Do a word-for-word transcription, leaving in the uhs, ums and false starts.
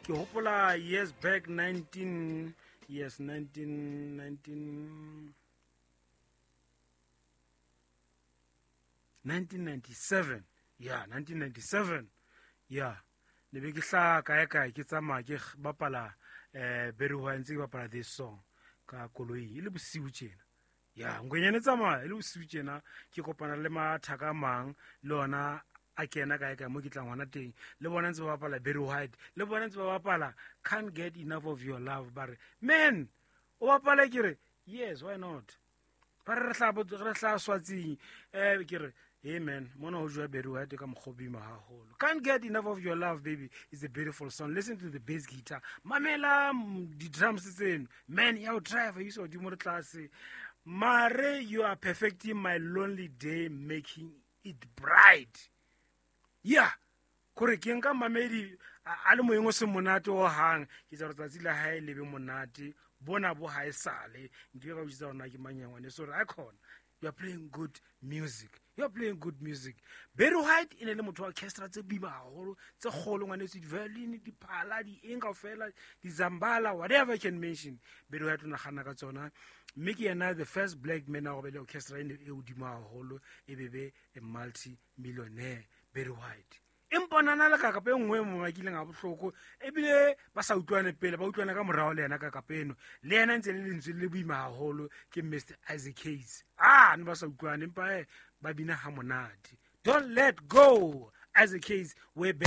Ke hopola years back nineteen yes nineteen nineteen nineteen ninety seven yeah nineteen ninety seven yeah ne be ke hlaha kae kae ke tsamaya ke bapala eh Barry White ntse ke bapala this song ka koloi e le bosiu tjena. Ya ngwenyane tsamaya e le bosiu tjena ke kopana le mathaka a mang le ona a kena kae kae mo ke tlang hona teng le bona ntse ba bapala Barry White le bona ntse ba bapala Can't Get Enough of Your Love. Ba re man o bapala ke re yes why not ba re re hla re hla swatsing eh ke re hey man mona ho jwa Barry White ka mokgobima haholo. Can't Get Enough of Your Love baby is a beautiful song. Listen to the bass guitar, mamela di drums tseno man ya o driver you so di mo re tlase mare you are perfecting my lonely day making it bright. Yeah kore ke nka mamedi a le moyeng o se monate o hang ke tsa tsatsi la hae le be monate bona bo hae sale nke ka botsa hore na ke mang ya ngwane so re icon you are playing good music you are playing good music. Barry White e ne le motho wa orchestra tse boima haholo tse kgolo ngwanetso di-violin diphala di eng kaofela di-zambala whatever you can mention. Barry White o nagana ka tsona mme ke yena the first black man a go be le orchestra e ne e hodimo haholo e be be a multi millionaire Barry White. Empa nana le kakapa e nngwe mo bakileng a bohloko ebile ba sa utlwane pele ba utlwana ka morao le yena kakapa eno le yena ntse le lentswe le boima haholo ke Mister Isaac Hayes. Ah ne ba sa utlwane empa eh ba bina ha monate. Don't Let Go Isaac Hayes way back.